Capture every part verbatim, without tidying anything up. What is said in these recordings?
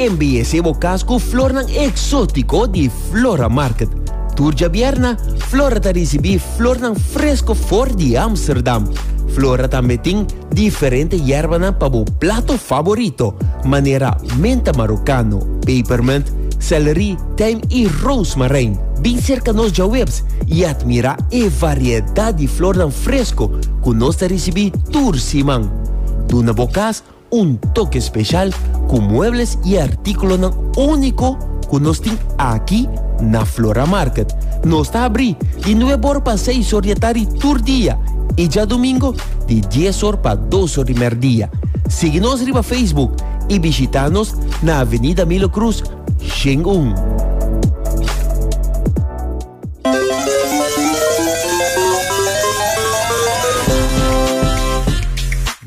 Embeyece bo cas cu flornan exotico di Flora Market. Tur diabierna, Flora ta ricibi flornan fresco for di Amsterdam. Flora tambe tin diferente yerbanan pa bo plato favorito, manera menta marocano, peppermint, celery, tijm y rozemarijn. Bin cerca nos diahuebs y admira e variedad di flornan fresco cu nos ta ricibi tur siman. Duna bo cas un toke special cu muebles y articulonan unico cu nos tin aki na Flora Market. Nos ta habri di nuebe or pa seis or di atardi tur dia y diadomingo di dies or pa dos or di merdia. Sigui nos riba Facebook y bishita nos na Avenida Milo Cruz, Shengun.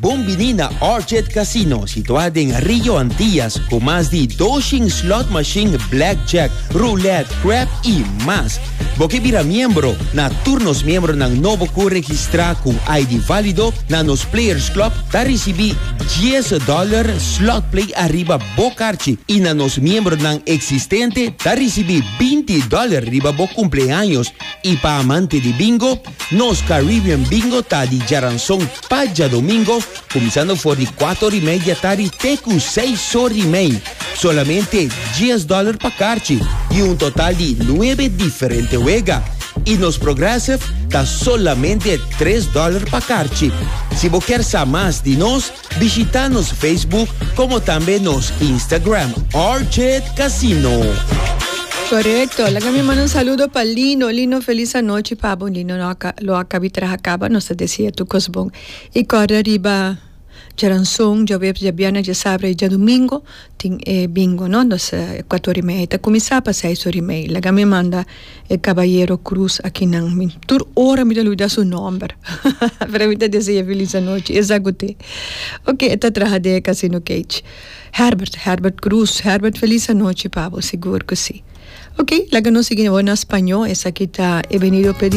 Bon bini na Orchid Casino, situa den Rio Antillas, cu mas di doshen slot machine, blackjack, roulette, crap y mas. Bo kier bira miembro? Na tur nos miembronan nobo cu registra cu I D valido na nos Players Club, ta ricibi dies dollar slot play ariba bo carchi y na nos miembronan existente ta ricibi binti dollar riba bo cumpleaños. Y pa amante di bingo, nos Caribbean Bingo ta di diaranson pa diadomingo, cuminsando for di cuater y mei di atardi te cu seis or y mei. Solamente dies dollar pa carchi y un total di nuebe diferente wega. Y nos Progressive ta solamente tres dollar pa carchi. Si bo kier sa mas di nos, bishita nos Facebook como tambe nos Instagram, Orchid Casino. Correcto. Laga mi manda un saludo pa Lino. Lino, feliz anochi pa bo. Lino no lo a caba di traha caba, nos ta desea tur cos bon. Y corda riba diaranson, diahuebs, diabierna, diasabra y diadomingo, tin eh, bingo, no? Nos eh, cuater y mei ta cuminsa pa seis or y mei. Laga mi manda e Caballero Cruz aki nan. Mi, tur ora mi ta lubida su nomber. Pero mi ta desea feliz anochi. Exato. Ok, ta traha den Casino Cage. Herbert, Herbert Cruz. Herbert, feliz anochi pa bo, sigur cu si. Ok, laga nos sigui na spaño. Esaki ta He venido a pedir.